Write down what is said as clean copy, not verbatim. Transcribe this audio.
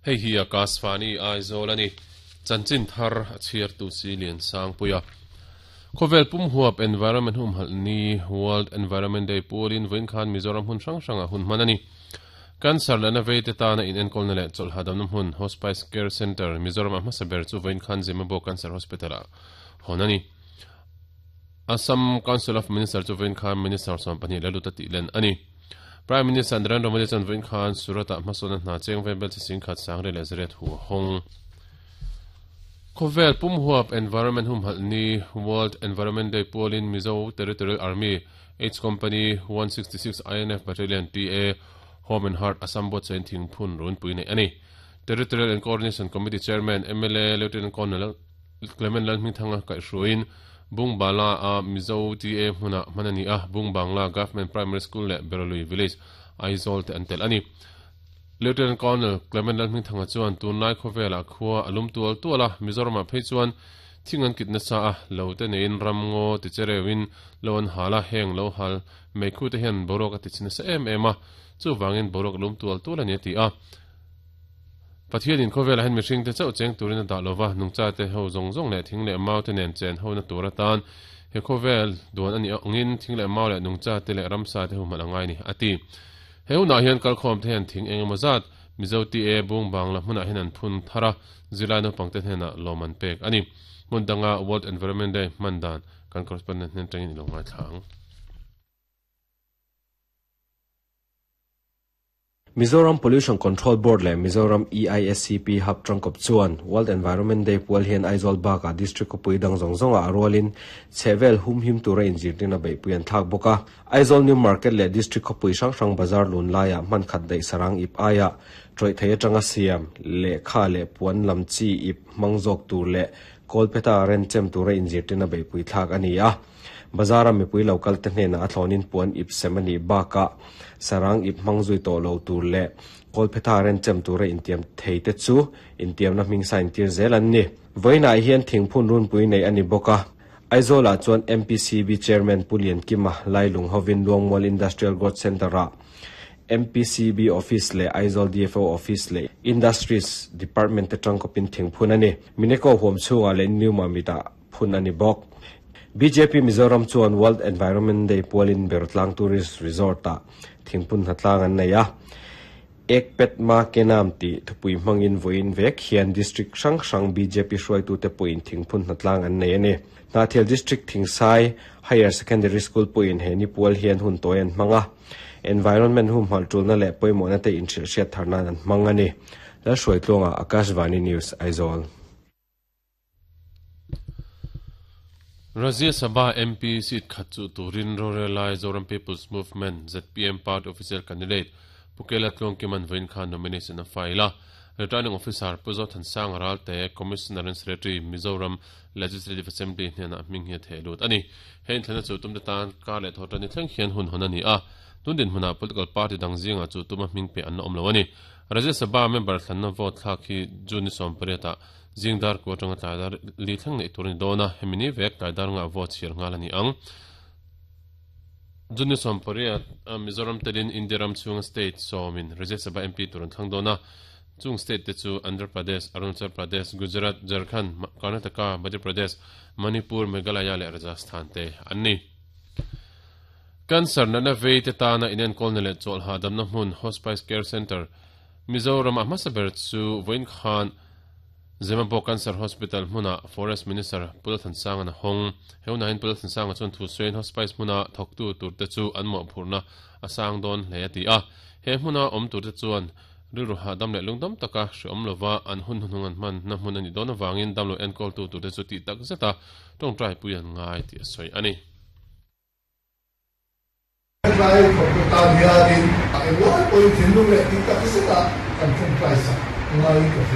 Hei hi Akashvani Aizawl a ni. Chanchin thar a chhiartu si Lian Sangpuia. Khawvel pum huap Environment humhalh ni, World Environment Day, pualin vawiin khan Mizoram hmun hrang hrangah hun hman a ni. Cancer lehna veite tana inenkawlna leh chawlh hahdamna hmun Hospice Care Centre, Mizoramah hmasa ber chu vawiin khan Zemabawk Cancer Hospital-ah hawn a ni. Assam Council of Minister chu vawiin khan Minister 12 la lut a tih len a ni. Prime Minister Narendra Modi chuan vawiin khan Surat-ah hmasawnna hna cheng vel chi singkhat sangri leh zariat hu a hawng. Khawvel pum huap Environment humhalh ni, World Environment Day, pualin Mizo Territorial Army, H Company, 166 INF Battalion, TA, Home and Heart, Assam buatsain thingphun runpui neih a ni. Territorial and Coordination Committee Chairman, mla Lieutenant Colonel Clement Lalhmingthanga kaihhruaiin Bungbala a Mizo TA hmunah hman a ni a, Bungbangla Government Primary School leh Beralui Village, Aizawl te an telh a ni. Lieutenant Colonel Clement Lalhmingthanga chuan tunlai khawvelah khua a lum tual tual a, Mizoramah phei chuan thing an kit nasa a, lo te neiin ram ngaw ti che reuhin lo an hal a, heng lo hal meikhu te hian boruak a ti chhe nasa em em a, chuvangin boruak a lum tual tual a ni a ti a. Pathianin khawvelah hian mihringte chauh cheng turin a dah lova, nungchate ho zawng zawng leh thing leh maute nen chen hona tur atan he khawvel duan a nih angin thing leh mau leh nungchate leh ramsate ho hmalh a ngai ni, a ti. He hunah hian kalkhawmte hian thing eng emaw zat Mizo TA bung bangla hmunah hian an phun thar a, zirlai naupangte hnenah lawm an pek a ni. Hmun danga World Environment Day hman dan kan correspondent hnen atangin i lo ngaithla ang. Mizoram Pollution Control Board leh Mizoram EISCP Hub tangkawp chuan World Environment Day pual hian Aizawl bakah District khawpui dang zawng zawngah a rualin chhehvel humhim tura inzirtirna beihpui an thlak bawk a. Aizawl New Market leh District khawpui hrang hrang bazar lun laiah hman khat daih sarang ip aiah tawih thei atanga siam, lehkha leh puan lam chi ip hmang zawk tur leh kawlphetah renchem tura inzirtirna beihpui thlak a ni a. Bazar-a mipui lo kal te hnenah a thlawnin puan ip sem a nih bakah sarang ip hmang zui tawh lo tur leh kawlphetha renchem tura intiam thei te chu intiamna hming sign tir zel an ni. Vawiinah hian thingphun runpui nei a ni bawk a, Aizawlah chuan MPCB Chairman Pu Liankima Lailung hovin Luangmual Industrial Growth Centre-ah MPCB Office leh Aizawl DFO Office leh Industries Department te tangkawpin thingphun a ni. Mineko huam chhungah leh New Mamit-ah phun a ni bawk. Bjp Mizoram chuan World Environment Day pualin Bertlang Tourist Resort-ah thingphun hnatlang an nei a. Ek Pet Ma Ke Naam tih thupui hmangin vawiin vek hian district hrang hrang bjp hruaitute pawhin thingphun hnatlang an nei a ni. Hnahthial District Thingsai Higher Secondary School pawhin he ni pual hian hun tawi an hmang a. Environment humhalh tulna leh pawimawhna te inhrilhhriat thar nan an hmang a ni. Lalhruaitluanga, Akashvani News, Aizawl. Rajya Sabha MP seat khat chuh turin rorel lai Zoram People's Movement, zpm, party official candidate Pu Kela Tluangkima'n vawiin khan nomination a file a. Returning Officer Pu Zothansanga Ralte, Commissioner and Secretary, Mizoram Legislative Assembly hnenah hming hi a theh lut a ni. He inthlana chu tumte tan kar leh thawhtan ni thleng hian hun hawn a ni a. Tun dinhmunah political party dang zingah chu tuma hming pe an la awm lo a ni. Rajya Sabha member thlanna vote thlak hi June ni 18 ah Zing dar ku atanga tlai dar li thleng neih tur a ni dawn a, hemi ni vek tlai dar ngah vote chhiar nghal a ni ang. June ni 18 Mizoram telin India ram chhunga state sawmin Rajya Sabha MP tur an thlang dawn a, chung state te chu Andhra Pradesh, Arunachal Pradesh, Gujarat, Jharkhand, Karnataka, Madhya Pradesh, Manipur, Meghalaya leh Rajasthan te an ni. Cancer natna vei te tana inenkawlna leh chawlh hahdamna hmun Hospice Care Centre Mizoram a hmasa ber chu vawiin khan Zemabawk Cancer Hospital hmunah Forest Minister Pu Lalthansanga'n a hawng. He hunah hian Pu Lalthansanga chuan thu sawiin hospice hmuna thawktu turte chu an mawhphurhna a sang dawn hle a ti a. He hmuna awm turte chuan rilru hahdam leh lungdam taka hreawm lova an hun hnuhnung an hmanna hmun a nih dawn avangin damlo enkawltu turte chu tih tak zeta tawngtaipui an ngai tih a sawi a ni. Tlai thawktu tan hianin a englai pawhin thinlung leh tih tak zeta kan tawngtai sak ngaiin ka hria.